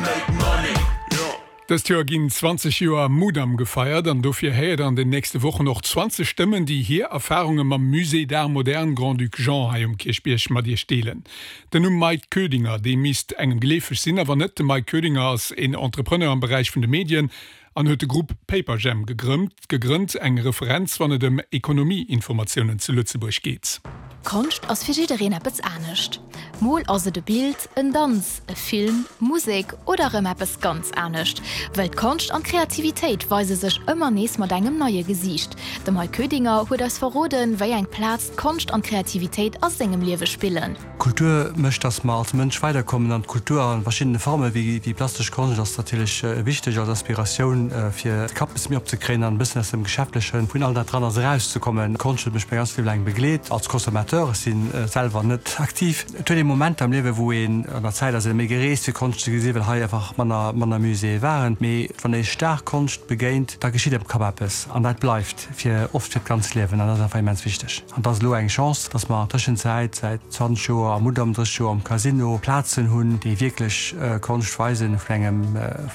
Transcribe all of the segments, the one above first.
make money, yeah. Dëst Joer ginn 20 Joer Mudam gefeiert an dofir héiert der an den nächste Wochen och 20 Stëmmen, déi hir Erfarunge mam Musée d'Art Moderne Grand-Duc Jean hei um Kierchbierg mat Iech deelen. Den Numm Mike Koedinger, dee misst engem geleefeg sinn, awer net. De Mike Koedinger ass een Entrepreneur am Beräich vun de Medien an huet de Grupp Paperjam gegrënnt, eng Referenz wann et ëm Ekonomie-Informatiounen zu Lëtzebuerg geet. Konscht ass fir jiddereen eppes anescht. Mol ass et e Bild, en Danz, e Film, Musek oder erëm eppes ganz anescht. Well d'Konscht an d'Kreativitéit weise sech ëmmer nees mat engem neie Gesiicht. De Mike Koedinger huet eis verroden, wéi eng Plaz d'Konscht an d'Kreativitéit a sengem Liewe spillen. Kultur mécht, dass mer als Mënsch weiderkommen an d'Kultur a verschiddene Forme wéi plastesch Konscht ass natierlech wichteg als Aspiratioun fir de Kapp e bësse méi opzekréien an e bëssen aus dem Geschäftlechen vun all dat dran ass erauszekommen. Konscht huet mech mäi ganzt Liewe laang begleet als Consommateur, ech si selwer net aktiv. Et huet ee Momenter am Liewe wou een an der Zäit ass ee méi gereest fir Konscht ze gesinn, well hei einfach manner manner Muséeë waren. Mee wann ee staark Konscht begéint, da geschitt am Kapp eppes an dat bleift fir oft fir d'ganzt Liewen an dat ass einfach immens wichteg. An et ass elo eng Chance, dass mer an Tëschenzäit säit 20 Joer am Mudam, 30 Joer am Casino Plazen hunn, déi wierklech Konscht weisen vun engem,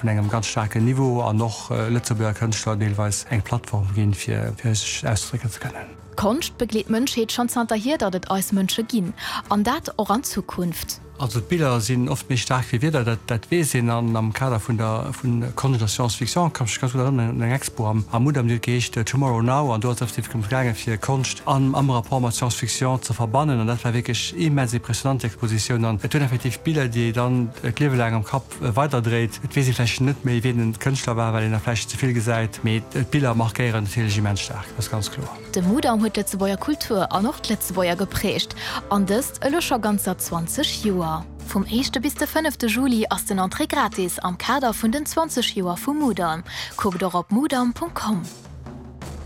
vun engem ganz staarken Niveau an och Lëtzebuerger Kënschtler deelweis eng Plattform ginn, fir sech ausdrécken ze kënnen. Konscht begleet d'Mënschheet schonn zanterhier, datt et eis Mënsche ginn. An dat och an Zukunft. Also d'Biller sinn oft méi staark wéi Wierder, dat dat weess een. An am Kader vun der vu Konscht a Science Fiction kann ech mech ganz gutt erënneren un eng Expo am am Mudam, déi huet geheescht Tomorrow Now an do ass et effektiv drëms gaangen, fir Konscht an am Rapport mat Science Fiction ze verbannen. An dat war wierklech immens impressionant, déi Expositioun. An et huet effektiv Biller, déi ee dann d'Liewe laang am Kapp weiderdréit. Et weess ee vläicht net méi, wien den Kënschtler war, well een der vläicht ze vill gesäit, mee d'Biller markéieren natierlech immens staark, dat ass ganz kloer. De Mudam huet d'Lëtzebuerger Kultur an och d'Lëtzebuerger geprägt, an dëst elo scho ganzer 20 Joer. Vum éischte bis de fënnefte Juli ass den Entrée gratis am Kader vun den 20 Joer vum Mudam. Kuckt och op mudam.com.